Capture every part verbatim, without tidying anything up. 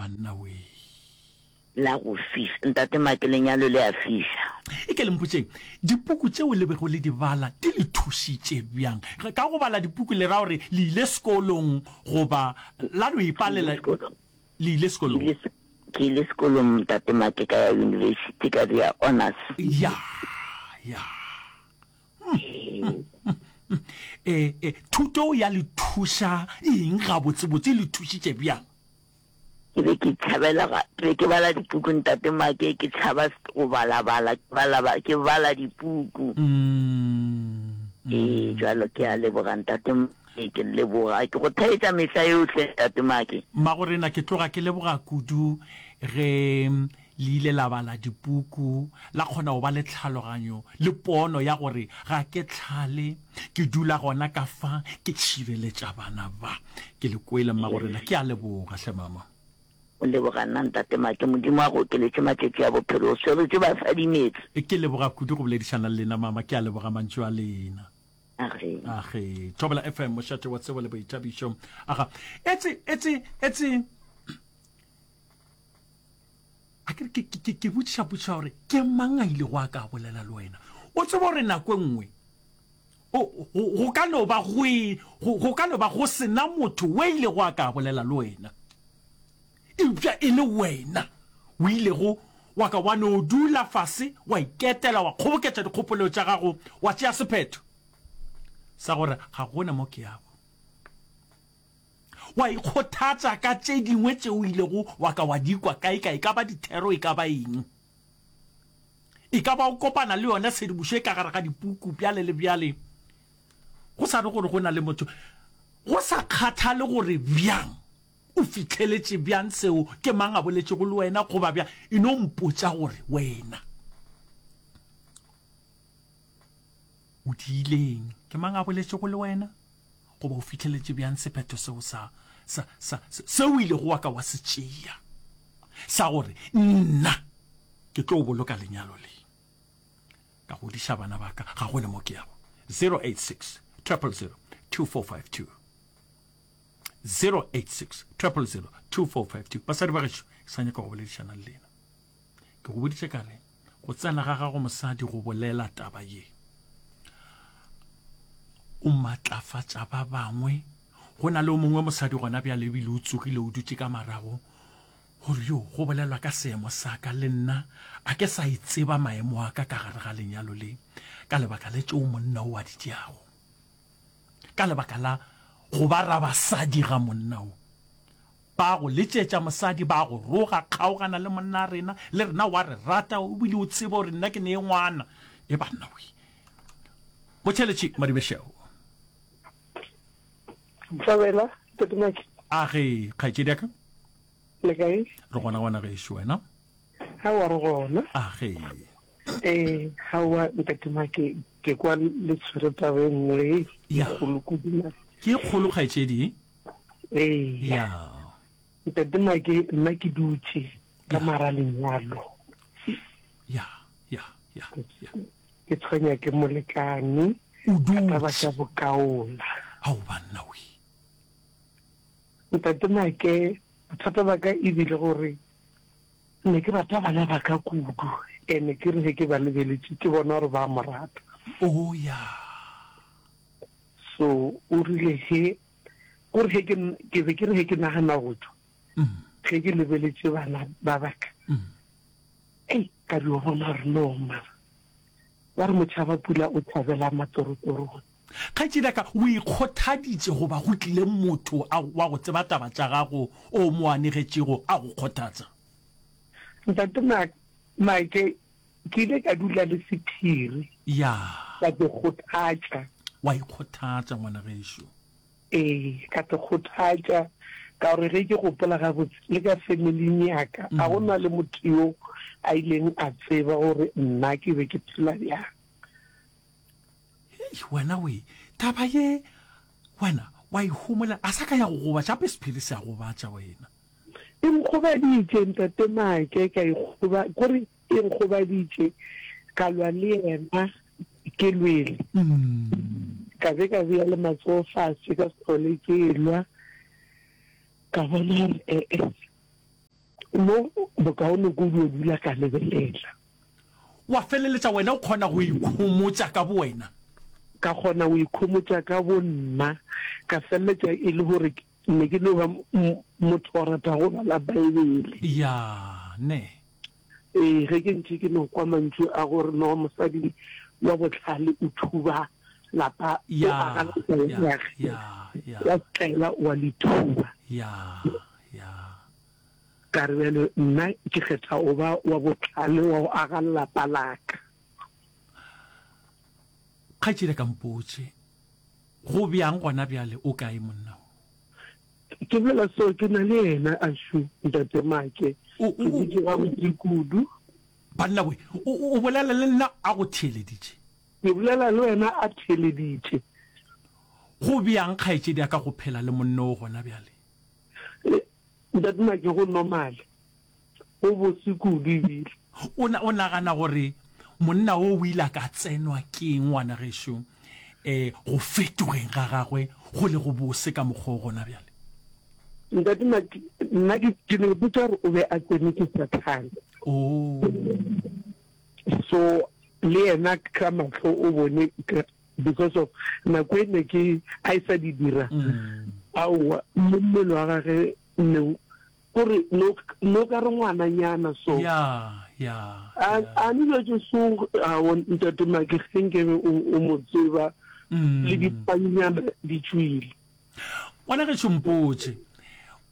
banna we. La go fiša. Ntate Make, lenyalo le a fiša. E ke le mpotšeng, dipuku tšeo le bego le di bala di le thušitše bjang? Ka go bala dipuku le ra gore le ile sekolong goba la no ipalela? Le ile sekolong? Ke ile sekolong, Ntate Make, ka ya yunibesithi ka dira honors. Ya, ya. E, e, thuto ya le thuša eng gabotsebotse? E le thušitše bjang? Ke be ke tšhabela ga, ke be ke bala dipuku Ntate Make, ke tšhaba go balabala, ke bala, ke bala dipuku. Ee, jwalo ke a leboga Ntate Make, ke leboga, ke go theetša mehla yohle Ntate Make. Mmagorena, ke tloga ke leboga kudu ge le ile la bala dipuku, la kgona go ba le tlhaloganyo le pono ya gore ga ke tlhale, ke dula gona ka fa, ke tšhireletša bana ba. Ke le kwele, mmagorena. Ke a leboga hle, mama. O leboga nna, Ntate Make. Modimo a go okeletše matšatši a bophelo. O swerotše basadi meetse. Ke leboga kudu go boledišana le lena, mama. Ke a leboga mantšu a lena. Age. Age. Thobela F M, mošate wa tsebo le boithabišo. Aga. Etse, etse, etse. A ke re, ke, ke, ke botšiša potšišo ya gore ke mang a ilego a ka bolela le wena? O tseba gore nako e nngwe o, go, go ka no ba go e, go, go ka no ba go se na motho o ilego a ka bolela le wena, eupša e le wena o ilego wa ka wa no dula fase, wa iketela, wa kgoboketša dikgopolo tša gago, wa tšea sephetho sa gore ga gona mo ke yago. Wa ikgothatša ka tše dingwe tše o ilego wa ka wa di kwa kaekae, e ka ba dithero, e ka ba eng. E ka ba o kopana le yona tshedimošo e ka gare ga dipuku bjale le bjale, go sa re gore go na le motho, go sa kgathale gore bjang, o fihleletše bjang seo, ke mang a boletšego le wena goba bjang, e no mpotša gore wena o diileng, ke mang a boletšego le wena. Goba o fihleletše bjang sephetho seo sa, sa, sa, seo o ilego wa ka wa se tšea, sa gore, Nna ke tlo boloka lenyalo le, ka godiša bana ba ka, ga go le mo ke yago. Zero eight six, triple zero, two four five two. Zero eight six, triple zero, two four five two. Basadi ba gešo, ke sa nyaka go boledišana le lena. Ke go boditše ka re, go tsena ga gago mosadi go bolela taba ye, o matlafatša ba bangwe. Go na le o mongwe mosadi gona bjale ebile o tsogile o dutše ka marago gore yo go bolelwa ka seemo sa ka le nna a ke sa e tseba maemo a ka ka gare ga lenyalo le ka lebaka le tšeo monna o a di tšeago, ka lebaka la go ba rabasadi ga monna o. Ba go letšetša mosadi, ba go roga, kgaogana le monna rena, le rena wa re rata, o bile o tseba gore nna ke nee ngwana. E banna we. Motšheletši Madibešeo. Thabela, Ntate Maki. A ge, kgaetšedi ya ka. Le kae? Re gona gona gešo, wena? Aowa, re gona. A ge. Ee, aowa, Ntate Maki, ke kwa le tshwere taba e nngwe e kgolo kudu. Ke e kgolo, kgaetšedi. Ee. Ya. Ntate Maki, nna ke dutše ka mara lenyalo. Ya, ya, ya, ya. Ke tshwenya ke molekane. O dutše. Ka taba tša bokaola. Ao banna we. Ntate Make, bothata ba ka e bile gore ne ke rata bana ba ka kudu, ene ke re ge ke ba lebeletše ke bona gore ba mo rata. Oh ya. So o rile ge, gore ge ke, ke be ke re ge ke nagana go tšwa, ge ke lebeletše bana ba ba ka, ei, ka dio bona gore no mara, ba re motšhaba pula o tšhabela matsorotorong. Kgaetšedi ya ka, o ikgothaditše goba go tlile motho a, wa go tseba taba tša gago o mo anegetšego a go kgothatsa? Ntate Mike, ke ile ka dula le sephiri. Ya. Ka te kgothatša. Wa ikgothatša, ngwana gešo. Ee, ka te kgothatša, ka gore ge ke gopola gabotse, le ka familing ya ka, ga go na le motho yo a ileng a tseba gore nna ke be ke phela bjang. Hei, wena we, taba ye, wena wa e homolela, a sa ka ya go gobatša, gape sephiri se a gobatša wena. E nkgobaditše, Ntate Make, ka ikgoba, kore e nkgobaditše, ka lwa le yena, ke lwele. Ka be ka bea le matsogo fase, ka se hlole ke elwa, ka bona gore ee. Mo bokaone ko dio dula ka lebelela. Wa feleletša wena o kgona go ikhomotša ka bowena? Ka kgona go ikhomotša ka bonna, ka feleletša e le gore ne ke no ba motho wa rata go bala Baebele. Ya, ne. Ee, ge ke ntše ke no kwa mantšu a gore no mosadi wa bohlale o thuba lapa, o aga lapa la gagwe, wa tlela wa le thuba. Ya, ya. Ka re bjale nna ke kgetha go ba wa bohlale wa go aga lapa la ka. Kgaetšedi a ka mpotše, go bjang gona bjale, o kae monna wo? Ke bolela seo ke na le yena, Ashu, Ntate Make. Ke dutše gabotse kudu. Banna we, o, o bolela le nna a go theeleditše. Ke bolela le wena a theeleditše. Go bjang kgaetšedi ya ka go phela le monna wo gona bjale? Ntate Make, go normal. Go bose kudu ebile. O, o nagana gore monna wo o ile a ka tsenwa ke eng ngwana gešo, um go fetogeng ga gagwe go le go bose ka mokgwa o gona bjale? Ntate Make, nna ke, ke no botša gore o be a tsenwe ke Sathane. Oh. So le yena ka mahlo o bone because of nako e ne ke a e sa di dira, aowa, le mmele wa gage ne kore no no ka re ngwananyana so. Ya, ya, A ya. a ne dilo tše so aowa Ntate Make ge nkebe o o mo tseba le dipanyana di tšwile. Ngwana gešo mpotše,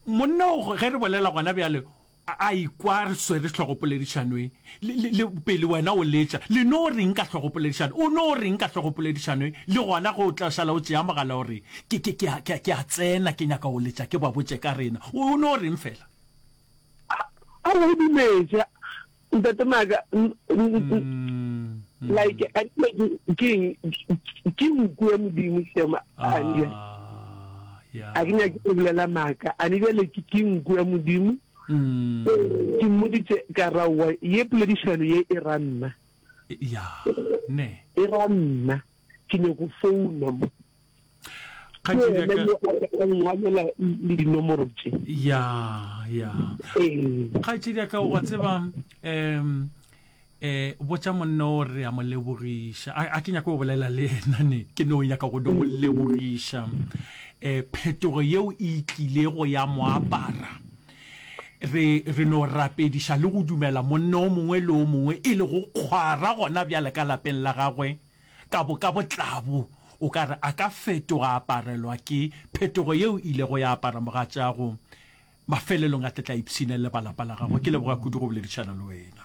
monna o ge re bolela gona bjale a ikwa re swere hlogopoledišano e, le, le, le pele wena o letša, le no reng ka hlogopoledišano? O no reng ka hlogopoledišano e? Le gona ge o tla šala o tšea mogala o re, Ke, ke, ke a, ke a, ke a tsena, ke nyaka go letša ke ba botše ka rena. O, o no reng fela? A, a o dumetše, Ntate Maka, like, a ke eng, ke nku ya Modimo, Shem, a ne, a ke nyake go bolela maaka, a ne bjale ke, ke nku ya Modimo. Ke mmoditše ka ra wa ye poledišano ye e ra nna. Ya, ne. E ra nna. Ke nyako founa mo. Kgaetšedi ya ka. Ke ngwalela le dinomoro tše. Ya, ya. Ee. Kgaetšedi ya ka, wa tseba, um eh botša monna o re a mo lebogiša. A, a ke nyake go bolela le yena ne, ke no nyaka go no mo lebogiša. Eh phetogo yeo e tlilego ya mo apara. Re, re no rapediša le go dumela monna o mongwe le o mongwe e lego kgwara gona bjale ka lapeng la gagwe, ka bo, ka botlabo, o ka re a ka fetoga a aparelwa ke phetogo yeo e ilego ya apara mogatšago. Mafelelong a tle tla ipshina le ba lapa la gagwe. Ke leboga kudu go boledišana le wena.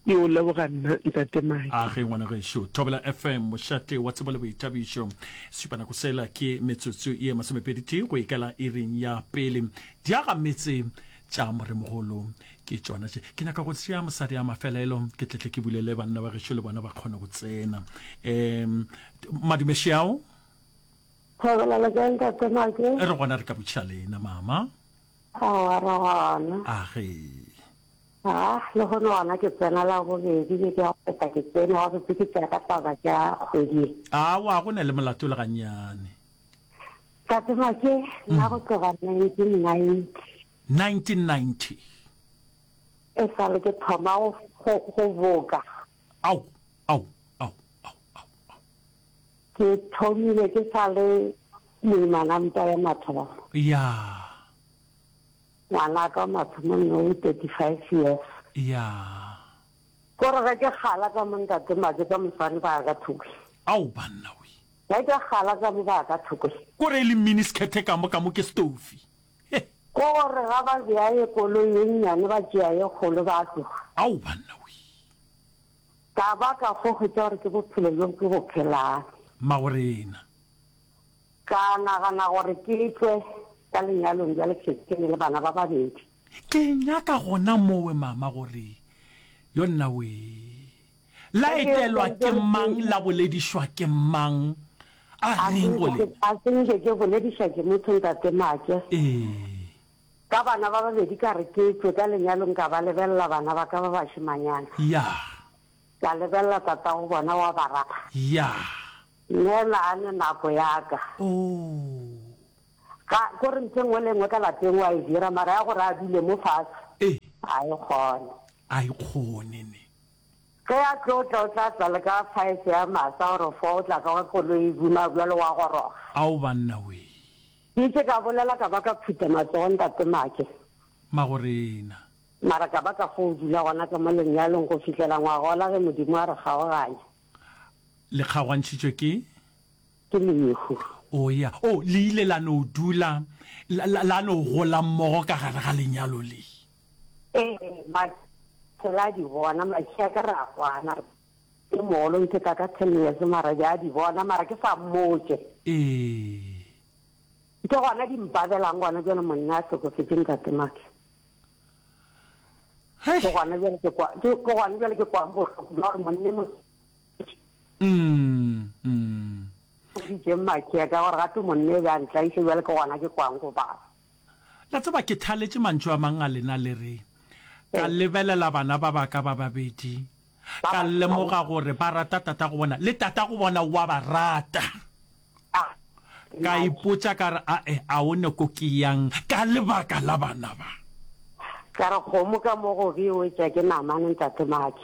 Ke o leboga nna, Ntate Mike. A ge, ngwana gešo. Thobela F M, mošate wa tsebo le boithabišo. Sešupanako sela ke metsotso ye masomepedi tee go ikela iring ya pele. Diagametse tša Moremogolo ke tšona tše. Ke nyaka go tšea mosadi a mafelelo, ke tletle ke bulele banna ba gešo le bona ba kgone go tsena. Um, madume šiao. Thobela le kae Ntate Make? Re gona re ka botšiša lena mama. Aowa re gona. A ge. A, lehono gona ke tsena la bobedi beke ya go feta ke tsene gabotse ke tšea ka taba tša kgwedi ye. Aowa go na le molato le gannyane. Tate Make, nna go tloga nineteen ninety. Nineteen ninety. E sa le ke thoma go, go, go boka. Ao, ao, ao, ao, ao, ao. Ke thomile ke sa le moimana mpa ya mathomo. Ya. Ngwanaka wa mathomo nou thirty five years. Ya. Kore ge ke kgala ka mo ntate Make ka moswane ba ka thoko. Ao banna we. Ge ke kgala ka mo ba ka thoko. Kore e le mini skirt ka mo ka mo ke stofi. He. Kore ga ba bea ye koloi ye nnyane ba tšea ye kgolo ba tloga. Ao banna we. Ka ba ka fo hwetša gore ke bophelo bjo ke bo phelang. Mmagorena. Ka nagana gore ke tšwe ka lenyalong bjale ke šetše ke ne le bana ba babedi. Ke nyaka gona mowe mama gore yo nna wee. La etelwa ke mang la boledišwa ke mang a reng go lena? A se nke ke boledišwa ke motho ntate Make. Ee. Ka bana ba babedi ka re ke tšwe ka lenyalong ka ba lebelela bana ba ka ba bašemanyana. Ya. Ka lebelela tatago bona wa ba rata. Ya. Nna a ne nako ya ka. Oh. Ga, ko re ntho e nngwe le e nngwe ka lapeng wa e dira, mara ya gore a dule mo fase, Ee. A e kgone. A e kgone ne. Ge a tlo tla o tla tla le ka five ya masa gore four o tla ka koloi e buna bjalo wa goroga. Ao banna wee. Ke itše ka bolela ka ba ka phutha matsogo ntate Make. Magorena. Mara ka ba ka fo dula gona ka mo lenyalong go fihlela ngwagola ge Modimo a re kgaoganya. Le kgaogantšhitšwe ke? Ke lehu. O ya. O, le ile la no dula, la, la, la no gola mmogo ka gare ga lenyalo le. Ee, Make phela a di bona, Make a ka re a kwana. Ke mogolo ntheta ka ten years mara be a di bona mara ke sa mmotše. Ee. Ke gona di mpabelang gona bjale monna a hlokofetše ntate Make. Hei. Ke gona bjale ke kwa ke ke gona bjale ke kwang bohloko bja gore monne mo Mm, mm. foditše Make ka gore gape monne e be a ntlaiše bjale ke gona ke kwang go baba. La tseba ke thaletše mantšu a mang a lena le re ka lebelela bana ba ba ka ba babedi ka lemoga gore ba rata tata go bona le tata go bona wa ba rata. Ka ipotša ka re, Ae, a o ne ko ke yang ka lebaka la bana ba. Ka re, Kgomo ka mo gobe e wetša ke namane, Ntate Make.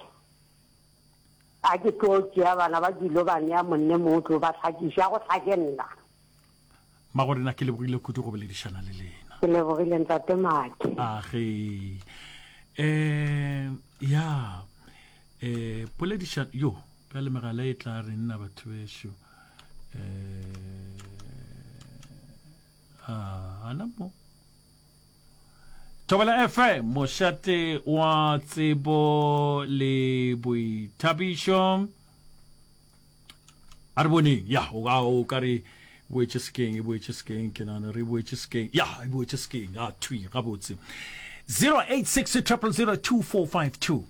A ke tlo tšea bana ba ke ilo ba nea monne mongwe tlo ba hlakiša, go hlake nna. Mmagorena, ke lebogile kudu go boledišana le lena. Ke lebogile, Ntate Make. Age. Eh, ya. Eh, poledišano, yo, bjale megala e tla re nna batho bešo. Eh, ah, ana mo. Thobela F M, mošate wa tsebo le boithabišo. A re boneng, ya, o ka, o ka re boetše sekeng, e boetše sekeng, ke nagana re boetše sekeng, ya, e boetše sekeng, a thwi, gabotse. zero eight six triple zero two four five two.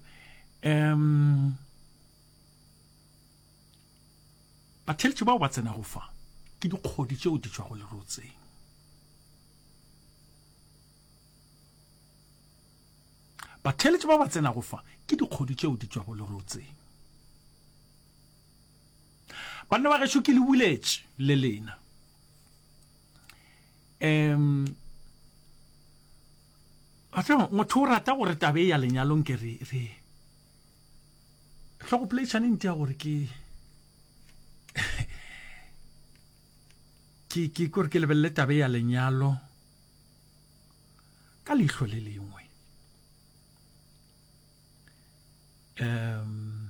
Um, batheletši bao ba tsenago fa ke dikgodi tšeo di tšwago lerotseng. Batheletši ba ba tsenago fa ke dikgodi tšeo di tšwago lerotseng. Banna ba gešo ke le buletše le lena. Um motho o rata gore tabe ya lenyalong ke re re hlogopoledišane nti ya gore ke ke ke kore ke lebelele tabe ya lenyalo ka leihlo le lengwe. Um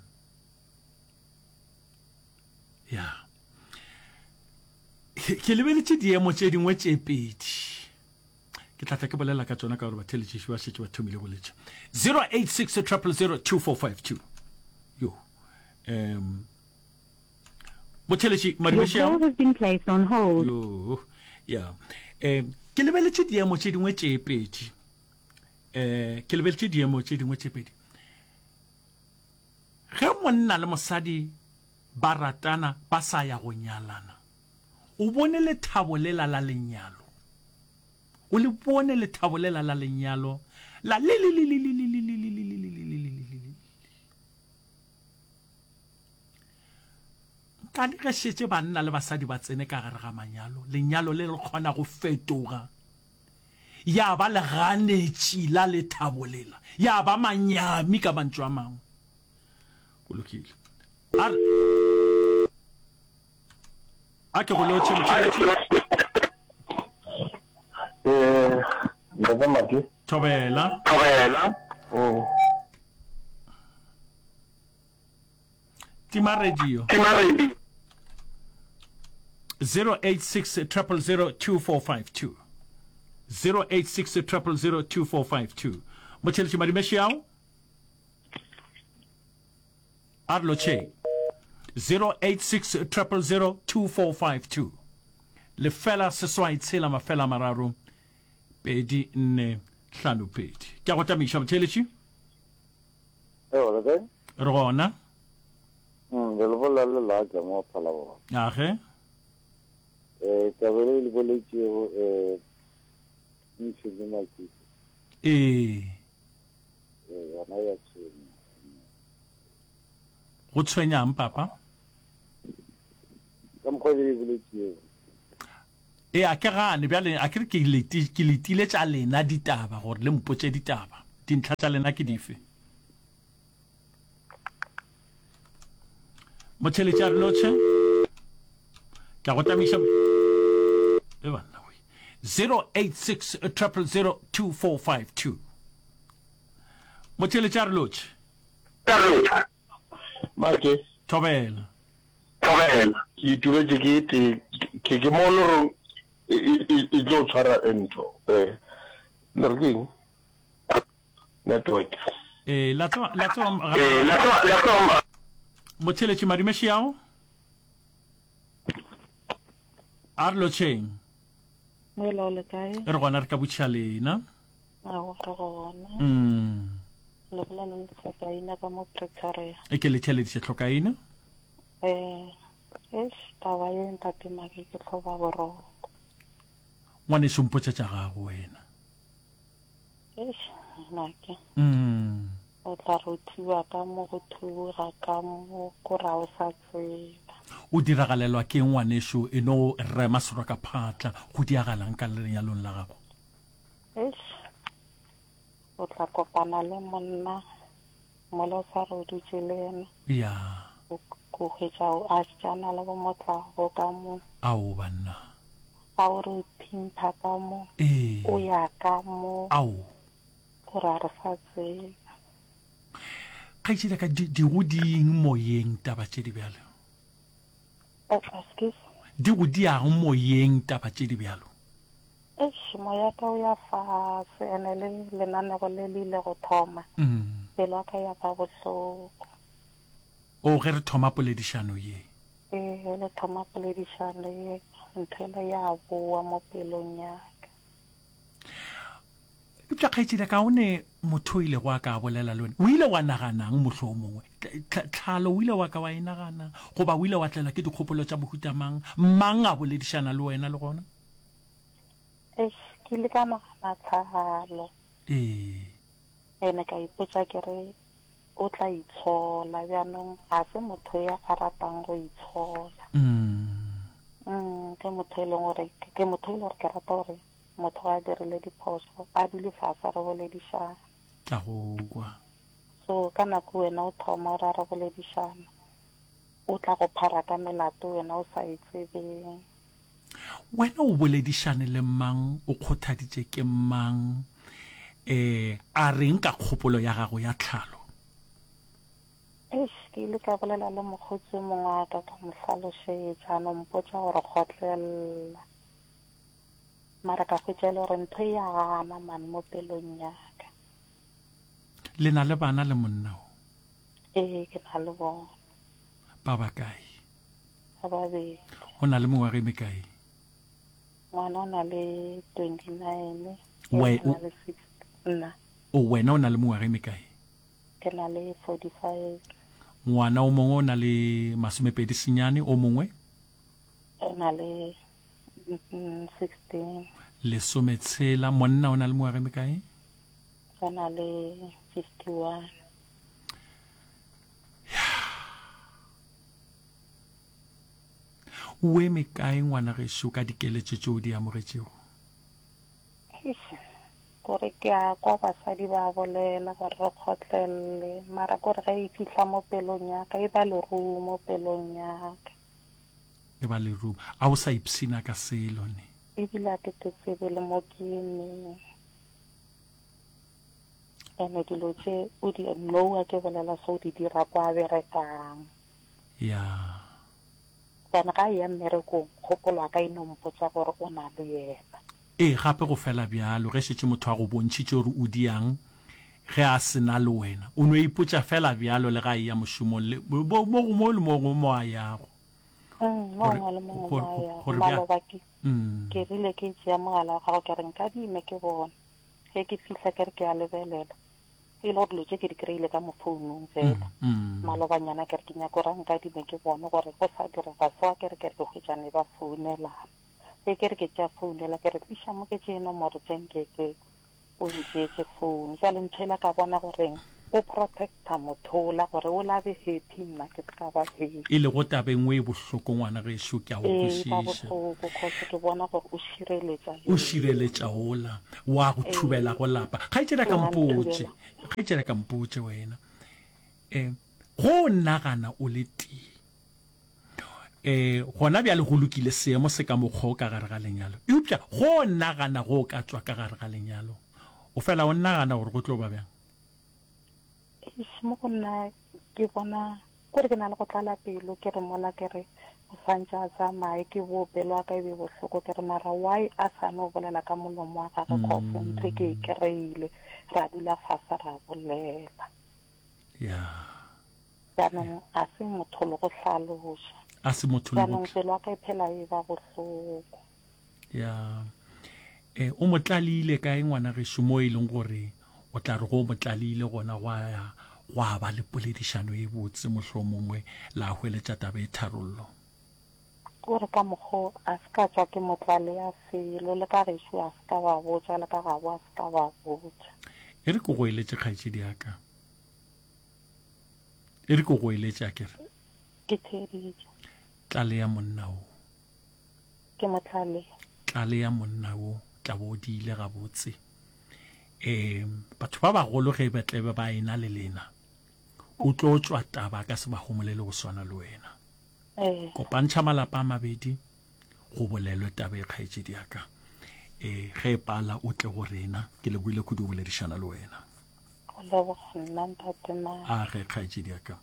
ya ke lebeletše diemo tše dingwe tše pedi ke tla tla ke bolela ka tšona ka gore batheletšiši ba šetše ba thomile go letša zero eight six triple zero two four five two yo um motheletši Your call has been placed on hold. Yo ya um ke lebeletše diemo tše dingwe tše pedi um ke lebeletše diemo tše dingwe tše pedi ge monna le mosadi ba ratana ba sa ya go nyalana o bone lethabo lela la lenyalo o le bone lethabo lela la lenyalo la le le le le le le le le le le le le le le le le nkane ge šetše banna le basadi ba tsene ka gare ga manyalo lenyalo le le kgona go fetoga ya ba leganetši la lethabo lela ya ba manyami ka mantšu a mangwe go lokile a re a ke go lotšhe motheletši Eh, Ntate Maki. Thobela. Thobela. Mm. Tima radio. Tima radio. zero eight six triple zero two four five two zero eight six triple zero two four five two Motheletši Madimešiao a re lotšheng zero eight six triple zero two four five two lefela seswai tshela mafela mararo pedi nne hlano pedi ke a go tamiša motheletši Ewa, le kae? re gona Mm, re le bolela le Latla mo Phalaborwa. age Eh, taba e le boletšego eh ntšhi le maikutlo. ee Eh, yona ya tshwenya. go tshwenyang papa Ka mokgwa e le boletšego. e a ke gane bjale a ke re ke leti- ke letile tša lena ditaba gore le mpotše ditaba Dintlha tša lena ke dife? Motheletši a re lotšhe. Ke a go tamiša. E banna we. zero eight six triple zero two four five two. Motheletši a re lotšhe. Make. Thobela. Thobela. Ke ituletše ke tee, ke ke mo le re e, e, e tlo tshwara ntho. Eh, le re ke eng? Network. Eh, la tseba, la tseba, eh, la tseba, la tseba. Motheletši madumeši ao. A re lotšheng. Moela o le kae? Re gona re ka botšiša lena. Aowa, re gona. Mm. Le bolela le Tlhokaina ka mo Pretoria. E ke le theleditše Tlhokaina. Eh, eish, taba ye ntate Maki ke hloba boroko. Ngwaneso mpotša tša gago wena. Eish, Maki. Mm. O tla re o thuba ka mo go thuboga ka mo ko ra o sa tseba. O diragalelwa ke eng ngwaneso e no rema serwa ka phatla go diagalang ka lenyalong la gago? Eish, o tla kopana le monna mola o sa re o dutše le yena. Ya. O ko hwetša o a tšana le bo motlago ka mo. Ao banna. A o re o thimpha ka mo. Ee. O ya ka mo. Ao. O ra re sa tseba. Kgaetšedi ya ka, di, di go dieng moyeng taba tše di bjalo? Eh, excuse? Di go diang moyeng taba tše di bjalo? Eish, moya ka o ya fase, ene le lenanego le le ile go thoma. Mm. Pelo ya ka ya ba bohloko. O, ge re thoma poledišano ye. Ee, ge le thoma poledišano ye, ntho ela ya boa mo pelong ya ka. Eupša kgaetšedi ya ka, o ne motho o ilego a ka bolela le wena, o ile wa nagana'ng mohlomongwe? Tlhalo o ile wa ka wa e nagana, goba o ile wa tlelwa ke dikgopolo tša mohuta mang? Mang a boledišana le wena le gona? Eish, ke ile ka nagana tlhalo. Ee. Ene ka ipotša ke re, o tla itshola. Bjanong ga se motho ya a ratang go itshola. Mm. Mm, ke motho e leng gore, ke motho e leng gore ke rata gore motho ga a dirile diphošo, a dule fase re boledišana. Tla go kwa. So ka nako wena o thoma o ra re boledišana, o tla go phara ka melato wena o sa e tsebeng. Wena o boledišane le mang, o kgothaditše ke mang, eh, a reng ka kgopolo ya gago ya tlhalo? Eish, ke ile ka bolela le mokgotsi o mongwe wa ka, ka mo hlalošetša, a no mpotša gore kgotlella. Mara ka hwetša e le gore ntho e ya gana man mo pelong ya ka. Le na le bana le monna o? Ee, ke na le bona. Ba bakae? Ba babedi. O na le mengwaga e mekae? Ngwana o na le twenty-nine, We, o na le six, nna. O, wena o na le mengwaga e mekae? Ke na le forty-five. Ngwana o mongwe o na le masomepedi senyane, o mongwe? O na le sixteen. Lesometshela. Monna o na le mengwaga e mekae? O na le fifty-one. O eme kae ngwana gešo ka dikeletšo tšeo di amogetšego? Eish, kore ke a kwa basadi ba bolela gore re kgotlelele, mara kore ge e fihla mo pelong ya ka, e ba lerumo mo pelong ya ka. E ba lerumo. A o sa ipshina ka selo ne? Ebile a ke te tsebe le mo ke emeng. Ene dilo tše o di noa ke bolela se o di dira kwa berekang. Ya. Gobane ga a eya mmerekong, kgopolo ya ka e no mpotša gore o na le yena. Ee, gape go fela bjalo, ge šetše motho a go bontšhitše gore o diang ge a se na le wena, o no ipotša fela bjalo le ga a eya mošomong le mo, mo, mo le mo gongwe mo a yago. Mm, mo Gore, gongwe le mo gongwe gore, mo a yago. gore bja, Maloba ke, mm. ke rile ke tšea mogala wa gago ke re nkadime ke bone. Ge ke fihla ke re ke a lebelela, e le gore dilo tše ke di kry-ile ka mo founung fela. Mm, mm. Malobanyana ke re ke nyaka gore a nkadime ke bone gore go sa direga so, ke re ke re ke hwetšane ba founelana. Ge ke re ke tšea founu ela, ke re tliša mo ke tšee nomoro tše nke ke o ntšeetše founu. Jwale ntho ela ka bona goreng O protecta motho ola gore ola be happy nna ke ska ba happy. E lego taba e nngwe e bohloko ngwana gešo ke a go Ee, ba kwešiša. bohloko cause ke bona gore o šireletša O yena. šireletša ola wa go Ee. thubela go lapa. Kgaetšedi a ka Wa mpotše, nthubela. kgaetšedi a ka mpotše wena. Um go nagana o le tee. Um gona bjale go lokile seemo se ka mokgwa o ka gare ga lenyalo. Eupša go nagana go ka tšwa ka gare ga lenyalo. O fela o nagana gore go tlo ba bjang? Eish, mo go nna ke bona kore ke na le go tlala pelo, ke re mola ke re o swantše a tsamaye, ke bo pelo ya ka e be bohloko, ke re mara why a sa no bolela ka molomo wa gagwe, cause ntho e ke e kry-ile, ra dula fase ra bolela. Ya. Jaanong a se motho le go hlaloša. A se motho le go Jaanong pelo ya ka e phela e ba bohloko. Ya. Eh, o mo tlaleile kae ngwana gešo mo e leng gore o tla re go mo tlaleile gona gwa ya gwa ba le poledišano e botse mohlomongwe la hweletša taba e tharollo? Kore ka mokgo a se ka tšwa ke mo tlalea selo, le ka gešo a se ka ba botša, le ka gabo a se ka ba botša. E re ke go eletše kgaetšedi ya ka. E re ke go eletše a ke re. Ke theeditše. Tlalea monna wo. Ke mo tlalea. Tlalea monna wo, tla bo o diile gabotse. Um batho ba bagolo ge ba tlebe ba ena le lena, o tlo tšwa taba ka se ba homolele go swana le wena. Ee. Kopantšha malapa a mabedi, go bolelwe taba e kgaetšedi ya ka. E, ge e pala o tle go rena, ke lebohile kudu go boledišana le wena. Go leboga nna ntate Mare. A ge kgaetšedi ya ka.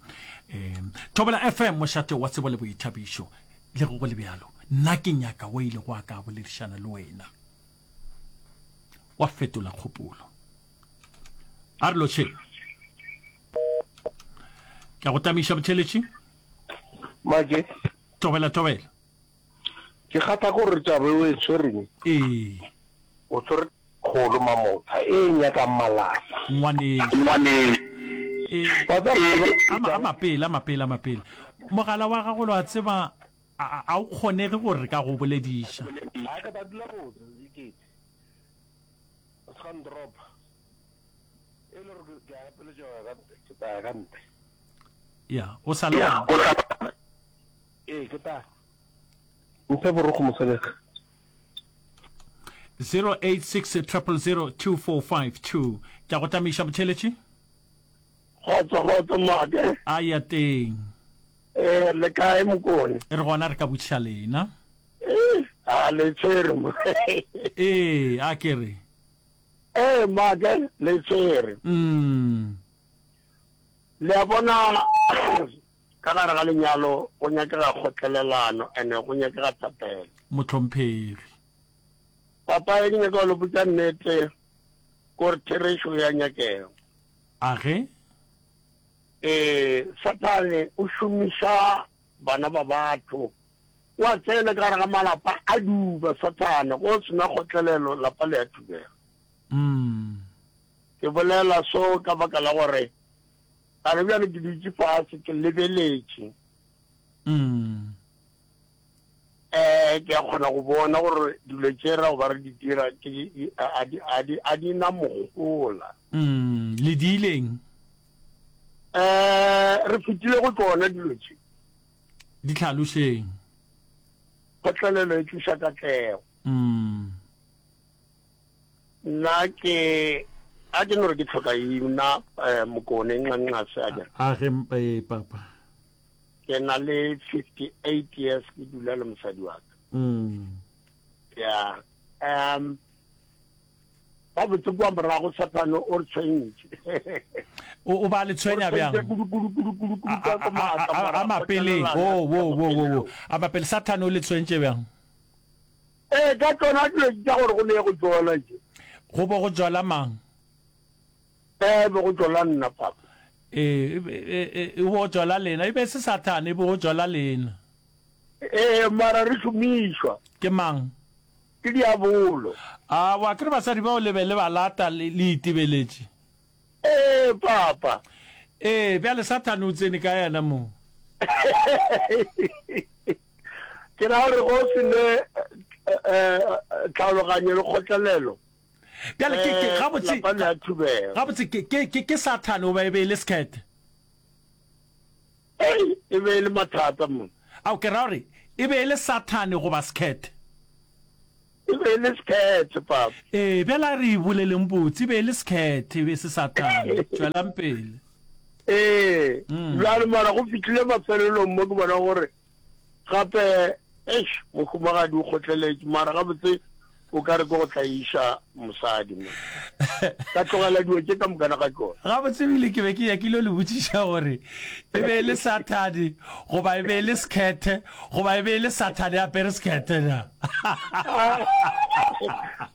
Um Thobela F M, mošate wa tsebo le boithabišo. Le ge go le bjalo, nna ke nyaka o ile go a ka boledišana le wena. Wa fetola kgopolo. A re lotšheng. Ke a go tamiša botheletši. Make. Tobela, tobela. Ke kgatha gore taba e o e tshwereng. Ee. O tshwere kgolo mamotha e nyakang malapa. Ngwanešu. Ngwanešu. Ee. Wa tseba, A, a mapele, a mapele, a mapele. Mogala wa gago lo a tseba a, a, a o kgonege gore re ka go bolediša. A ke tla dula botse, ikete. O se ka ndropa. E le gore ke a gapeletša go ya ka ntle, ke tla ya ka ntle. Ya, o sa le gona. Ee, ke tla. Mphe borokgo mosadi ka. zero eight six triple zero two four five two. Ke a go tamiša motheletši. Kgotso, kgotso, Make. A ya teng. Eh, le kae Mokone? Re gona re ka botšiša lena. Eh, a le tshwere mo. Ee, a ke re. Eh, Make, le tshwere. Mm. Le a bona ka gare ga lenyalo go nyakega kgotlelelano ene go nyakega thapelo. Mohlomphegi. Papa, e ke nyaka go le botša nnete gore therešo ya nyakega. A ge? Ee, Sathane o šomiša bana ba batho. O a tsena ka gare ga malapa a duba Sathane, go sena kgotlelelo lapa le a thubega. Mm. Ke bolela so ka baka la gore gare bjale ke dutše fase ke lebeletše. Mm. Eh, ke a kgona go bona gore dilo tše ra go ba re di dira ke di, a di, a di, a di na mohola. Mm, le diileng? Eh, re fetile go tšona dilo tše. Di hlalošeng. Kgotlelelo e tliša katlego. Mm. Nna ke a ke no re ke tlhoka ina eh, Mokone nxa-nxase a ke. A ge eh, papa. Ke na le fifty-eight years ke dula le mosadi wa ka. Mm. Ya. Um ba botse kua morago Sathane o re tshwentše. O o ba le tshwenya bjang? Kudu kudu kudu kudu kudu ka A a a mapele. Wo wo wo wo wo. A mapele Sathane o le tshwentše bjang? Ee, ka tšona dilo tša gore go ne go tšola tše. Go bo go tšola mang? Ee, be go tšola nna, papa. Ee, e, e bo go tšola lena. E be se Sathane, e bo go tšola lena. Ee, mara re šomišwa. Ke mang? Ke diabolo. A wa kere basadi bao le be le ba lata le, le itebeletše? Ee, papa. Ee, bjale Sathane o tsene ka yena mo. Ke ra gore go se ne tlhaologanyo le kgotlelelo. Bjale ke, ke, Eh, gabotse, lapa le a thubega. gabotse ke, ke, ke, ke Sathane goba e be e le sekhethe? Ei, e be e le mathata mo. Ao, ke ra gore e be e le Sathane goba sekhethe? E be e le sekhethe, papa. Ee, bjale a re e boleleng botse, e be e le sekhethe, e be e se Sathane. Tšwelang pele. Ee, bjale mara go fihlile mafelelong mo ke bona gore gape, eish, mohumagadi o kgotleletše, mara gabotse o ka re ke go tlaiša mosadi mo. Ka tlogela dilo tše ka mokana ga tšona. Gabotse ebile ke be ke nyakile le botšiša gore e be e le Sathane goba e be e le sekhethe goba e be e le Sathane a apere sekhethe na.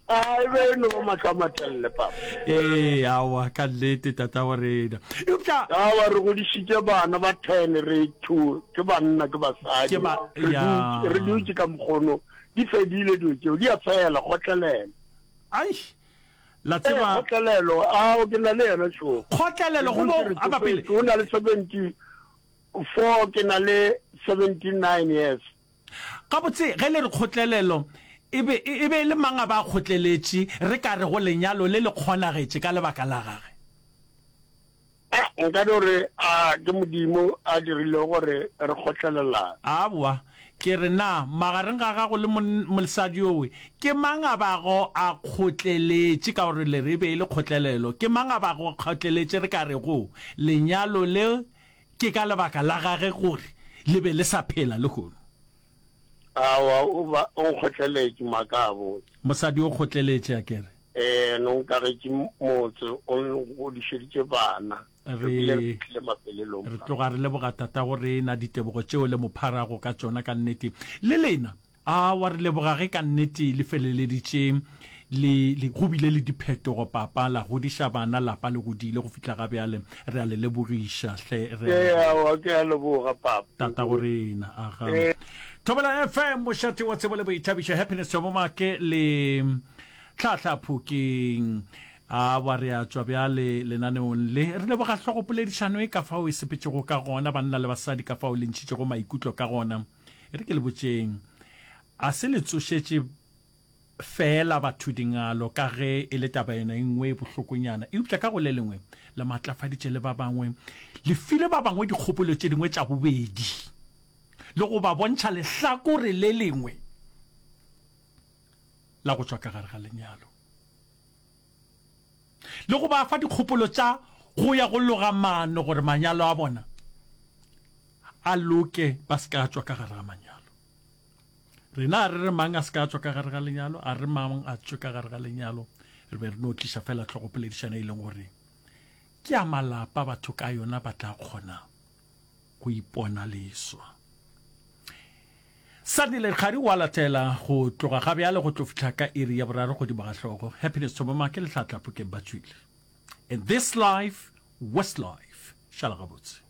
A e be e no ba mahlo a matelele, papa. Ee, aowa, ka nnete, tatago rena. Eupša. Aowa, re godišitše bana ba ten, re two ke banna, ke basadi. Ke ba, Re ya. dutše, re dutše ka mokgono. Di fedile dilo tšeo, di a fela, kgotlelelo. Ai, la Ee, tseba. kgotlelelo, ao, ke na le yena šo. Kgotlelelo, Re go bo, dutše re a ba pele. tsofetše, o na le seventy four, ke na le seventy nine years. Gabotse, ge le re kgotlelelo, e be, e be e le mang a ba a kgotleletše, re ka rego lenyalo le le kgonagetše ka lebaka la gage? A, nka no re, a ke Modimo a dirilego gore re kgotlelelane. Aowa, ke re, na magareng ga gago le mon, mosadi yowe, ke mang a bago a kgotleletše, ka gore le re e be e le kgotlelelo, ke mang a bago a kgotleletše, re ka rego lenyalo le ke ka lebaka la gage gore le be le sa phela lehono? Aowa, o ba, o nkgotleletše, maaka a botse. Mosadi o kgotleletše, a ke re. Ee, no nkagetše motse, o ngodišeditše bana. Re bile re Re, fihlile mafelelong re fa. tloga re leboga Tatago rena ditebogo tšeo le mo pharago ka tšona ka nnete. Le lena, aowa, re leboga ge ka nnete le feleleditše le, le, go bile le diphetogo, papa, la godiša bana, lapa le godile go fihla ga bjale. Re a le lebogiša, hle, re a Ee, leboga. aowa, ke a leboga, papa. Tatago rena, aga. Ee. Thobela F M, mošate wa tsebo le boithabišo, Happiness Thobomake le Tlhahla Phokeng. Aowa, re a tšwa bjale lenaneong le. Re leboga hlogopoledišano e ka fao e sepetšego ka gona, banna le basadi, ka fao le ntšhitšego maikutlo ka gona. E re ke le botšeng, a se le tsošetše feela batho dingalo ka ge e le taba yona e nngwe e bohlokonyana, eupša ka go le lengwe le matlafaditše le ba bangwe, le file ba bangwe dikgopolo tše dingwe tša bobedi le go ba bontšha lehlakore le lengwe la go tšwa ka gare ga lenyalo le go ba fa dikgopolo tša go ya go loga maano gore manyalo a bona a loke, ba se ka tšwa ka gare ga manyalo. Rena a re re mang a se ka tšwa ka gare ga lenyalo, a re mang a tšwe ka gare ga lenyalo, re be re no tliša fela hlogopoledišano e leng gore ke ya malapa, batho ka yona ba tla kgona go ipona leswa. Sandile Kgari wa latela go tloga ga bjale go tlo fihla ka iri ya boraro godimo ga hlogo. Happiness Thobomake le Tlhatla Phokeng ba tšwile. In this life, West life. Šala gabotse.